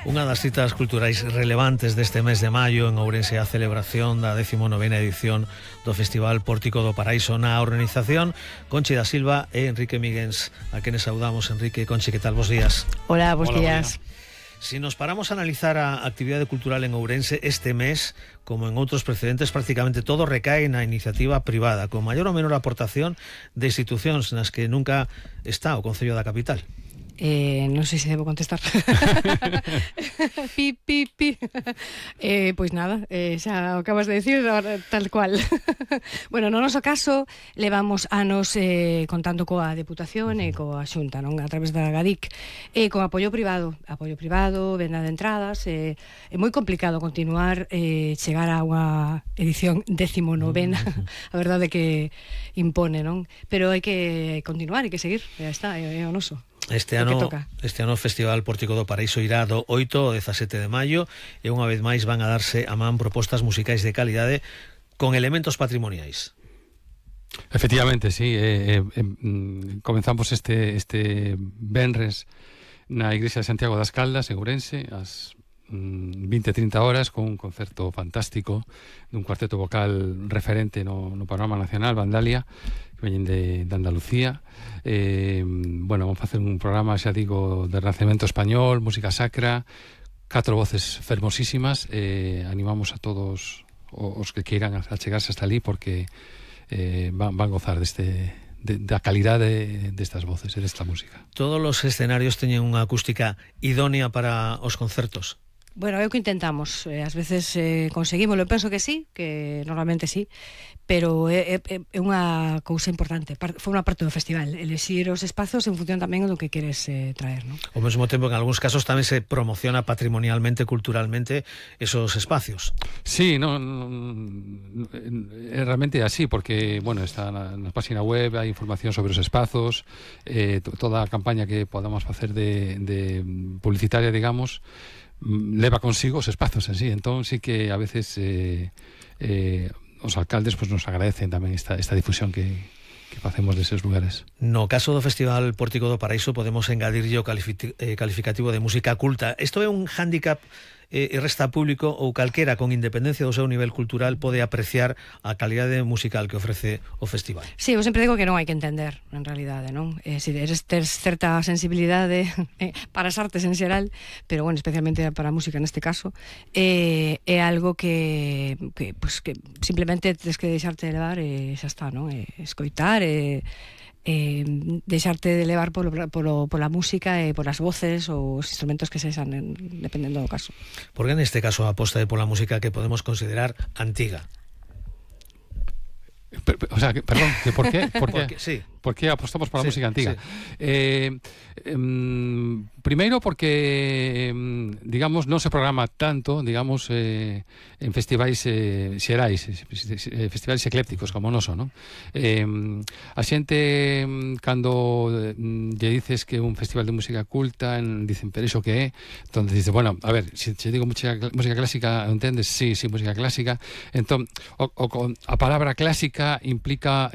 Unha das citas culturais relevantes deste mes de maio en Ourense a celebración da 19ª edición do Festival Pórtico do Paraíso. Na organización, Conchi da Silva e Enrique Miguens, a quenes saudamos. Enrique, Conchi, que tal? Bos días. Hola, bos días. Si nos paramos a analizar a actividade cultural en Ourense este mes, como en outros precedentes, prácticamente todo recae na iniciativa privada, con maior ou menor aportación de institucións nas que nunca está o Concello da Capital. Non sei se debo contestar. Pi. Pois nada, xa o acabas de decir tal cual. Bueno, no noso caso levamos anos contando coa Deputación e coa Xunta, non? A través da GADIC, e con apoio privado, venda de entradas. É moi complicado continuar, chegar a unha edición 19ª. A verdade que impone, non? Pero hai que continuar, hai que seguir, já está, é o noso. Este ano o Festival Pórtico do Paraíso irá do 8 ao 17 de maio e unha vez máis van a darse a man propostas musicais de calidade con elementos patrimoniais. Efectivamente, sí. Comenzamos este venres na Igrexa de Santiago das Caldas, en Ourense, ás 20-30 horas, con un concerto fantástico dun cuarteto vocal referente no panorama nacional, Vandalia, que veñen de Andalucía. Bueno, vamos a facer un programa, xa digo, de Renacemento español, música sacra, 4 voces fermosísimas. Animamos a todos os que queiran achegarse hasta ali, porque van gozar da calidade destas voces e desta música. Todos os escenarios teñen unha acústica idónea para os concertos? Bueno, é o que intentamos. Ás veces conseguimos, eu penso que sí, que normalmente sí, pero é unha cousa importante. Foi unha parte do festival, elexir os espazos en función tamén do que queres traer, non? Ao mesmo tempo, en algúns casos tamén se promociona patrimonialmente, culturalmente, esos espacios. Sí, realmente é así, porque, bueno, está na página web, hai información sobre os espazos, toda a campaña que podamos facer de publicitaria, digamos, leva consigo os espazos en sí. Entón sí que a veces os alcaldes pues nos agradecen tamén esta difusión que facemos deses lugares. No caso do Festival Pórtico do Paraíso podemos engadirlle o calificativo de música culta. Isto é un hándicap e resta público ou calquera con independencia do seu nivel cultural pode apreciar a calidade musical que ofrece o festival. Sí, eu sempre digo que non hai que entender, en realidade, non? Si tes certa sensibilidade para as artes en xeral, pero, bueno, especialmente para a música neste caso, é algo que simplemente tens que deixarte levar e xa está, non? Escoitar e deixarte de levar pola música e polas voces ou os instrumentos que sexan, dependendo do caso. Por que neste caso a aposta é pola música que podemos considerar antiga? O sea, perdón, ¿por qué? Sí. ¿Por qué apostamos por la música antigua? Sí. Primero porque, digamos, non se programa tanto, digamos, en festivais xerais, festivais eclépticos como o noso, non? A xente, cando lle dices que é un festival de música culta, dicen, pero iso que é? Entón, dices, bueno, a ver, se digo música clásica, entendes? Sí, música clásica. Entón, a palabra clásica implica